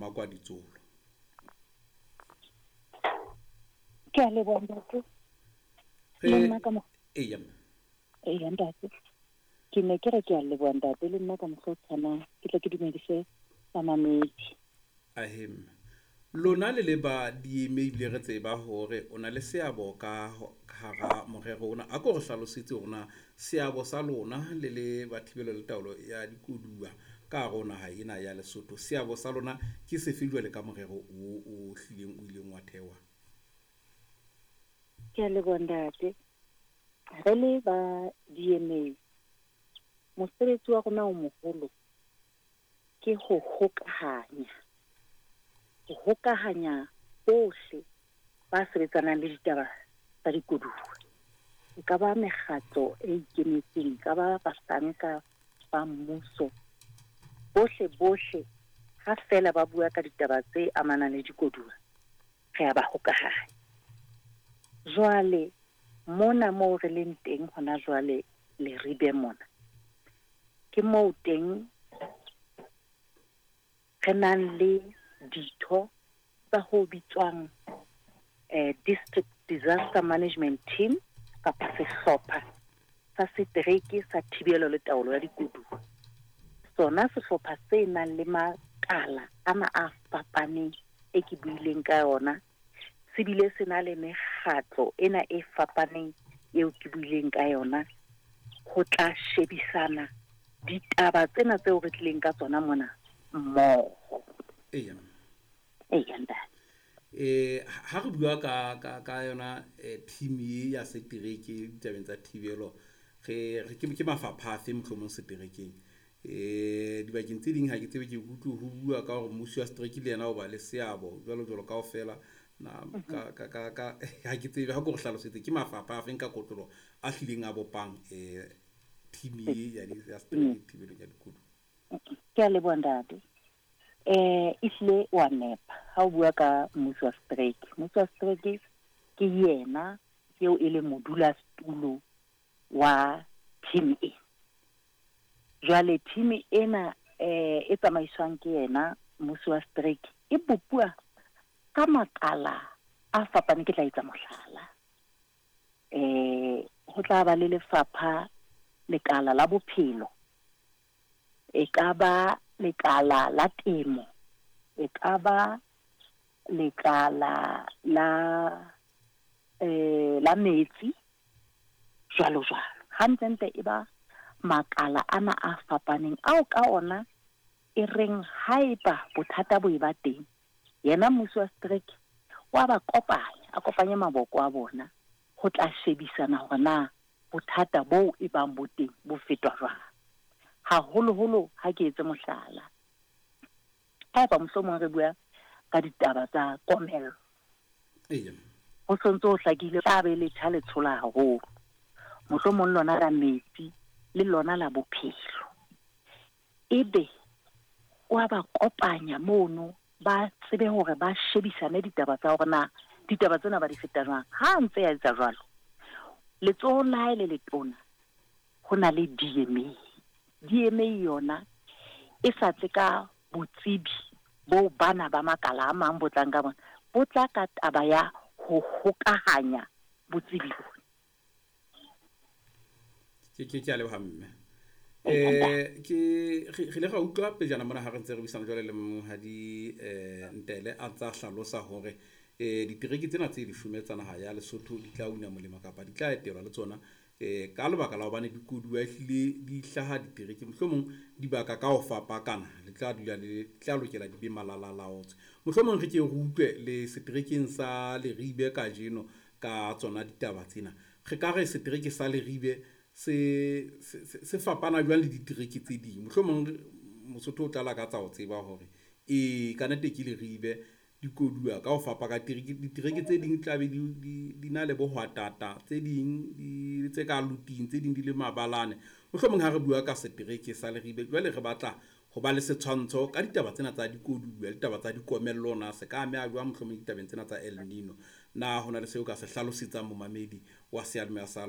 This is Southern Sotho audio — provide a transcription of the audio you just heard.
Mmakwa Ditsolo. Ke a leboha ntate. Le nna ka mo Eya. Eya ntate. Ke ne ke re ke a leboha ntate le nna ka mokgwa o tshwanang ke tle ke dumedise bamamedi. Ahem. Lona le le ba DMA ebile re tseba hore o na le seabo ka hara morero ona. A ko re hlalosetse hore na seabo sa lona le le ba thibelo le taolo ya dikoduwa ka hare ho naha ena ya Lesotho. Seabo sa lona ke sefe jwale ka morero o o hlileng o ileng wa thewa? Ke a leboha ntate. Re le ba DMA mosebetsi wa rona o moholo ke ho hokahanya. Ho hokahanya bohle ba sebetsanang le ditaba tsa dikoduwa. E ka ba mekgatlo e ikemetseng, e ka ba bahlanka ba mmuso. Bohle bohle ha fela ba bua ka ditaba tse amanang le dikoduwa, re a ba hokahanya. Jwale mona moo re leng teng hona jwale Leribe mona, ke moo teng re nang le ditho tsa ho bitswang District Disaster Management Team kapa sehlopha sa setereke sa thibelo le taolo ya dikoduwa. Sona sehlopha se nang le makala ana a fapaneng e ke buileng ka yona, se bile se na le mekgatlo ena e fapaneng eo ke buileng ka yona ho tla shebisana ditaba tsena tseo re tlileng ka tsona mona mmoho. Eya. Eya ntate. Ha re bua ka yona team e ya setereke ditabeng tsa thibelo, re re ke mafapha afe mohlomong seterekeng? Dibakeng tse ding ha ke tsebe, ke utlwe ho bua ka hore mmusi wa setereke le yena o ba le seabo jwalo jwalo kaofela. Na ka ka ka ka ha ke tsebe, ha ko re hlalosetse ke mafapha a feng ka kotloloho a hlileng a bopang team e ya setereke thibelong ya dikoduwa? Ke a leboha ntate. Ehlile wa nepa ha o bua ka mmusi wa setereke. Mmusi wa setereke ke yena eo e leng modulasetulo wa team e. Jwale team ena e tsamaiswang ke yena mmusi wa setereke e bopuwa ka makala a fapaneng. Ke tla etsa mohlala. Ho tla ba le lefapha lekala la bophelo, e ka ba lekala la temo, e ka ba lekala la la metsi, jwalo jwalo. Hantlentle e ba makala ana a fapaneng ao ka ona e reng haeba bothata bo e ba teng, yena mmusi wa setereke wa ba kopanya, a kopanye maboko a bona ho tla shebisana hore na bothata boo e bang bo teng bo fetwa jwang. Haholoholo ha ke etse mohlala, haeba mohlomong re bua ka ditaba tsa komello, ho sontso ho hlakile tla be letjha le tshola haholo, mohlomong lona la metsi le lona la bophelo, ebe wa ba kopanya mono ba tsebe hore ba shebisane ditaba tsa hore na ditaba tsena ba di feta jwang. Ha ntse ya etsa jwalo, letsohong la hae le letona ho na le DMA. DMA yona e sa tle ka botsebi bo bana ba makala a mang bo tlang ka bona, bo tla ka taba ya ho hokahanya botsebi bona. Ke a leboha mme. Ke re ile ra utlwa pejana mona ha re ntse re buisana jwale le monghadi Ntele a ntsa hlalosa hore ditereke tsena tse 10 tsa naha ya Lesotho di tla una molemo kapa di tla etelwa le tsona ka lebaka la hobane dikoduwa ehlile di hlaha ditereke mohlomong dibaka ka ho fapakana, le tla dula le tla lokela di be malalalaotswe. Mohlomong re ke re utlwe le seterekeng sa Leribe kajeno ka tsona ditaba tsena. Re ka re setereke sa Leribe se fapana jwang le ditereke tse ding? Mohlomong Mosotho o tla lakatsa ho tseba hore ka nnete ke Leribe dikoduwa ka ho fapana. Ditereke tse ding tla be di na le bohwatata, tse ding di tse ka luting, tse ding di le mabalane. Mohlomong ha re bua ka setereke sa Leribe jwale re batla ho ba le setshwantsho ka ditaba tsena tsa dikoduwa le ditaba tsa dikomello, na se ka ameha jwang mohlomong ditabeng tsena tsa El Nino. Na hona le seo ka se hlalosetsang momamedi wa seyalemoya sa